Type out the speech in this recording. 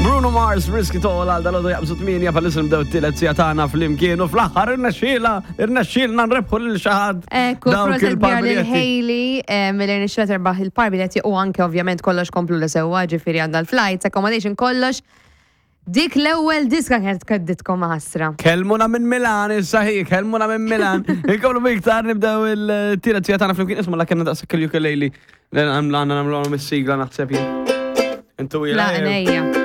Bruno Mars, Risk It All, għal dal-għodu jaqbżu 8 bħalissa nibdew t-tielet sija tagħna flimkien u fl-aħħar irnexxiela, irnexxielna nrebħu lil xi ħadd. Ekku, Dawk proset kbira lil il-parbiljetti. Hailey, mill irnexxiela terbaħ il-parbiljetti u anke ovvjament kollox komplu li sewwa, ġifieri għandha l-flights, accommodation, kollox. Dik l-ewwel diska kienet kedditkom ħasra. Kelmuna minn Milan, issa hi, kelmuna minn Milan. Inkomplu biktar nibdew il-tielet sija tagħna flimkien isma' la kellna daqshekk il-ukulele. Għandna nagħmlu is-sigla naħseb jien. Intu La, ila. nejja.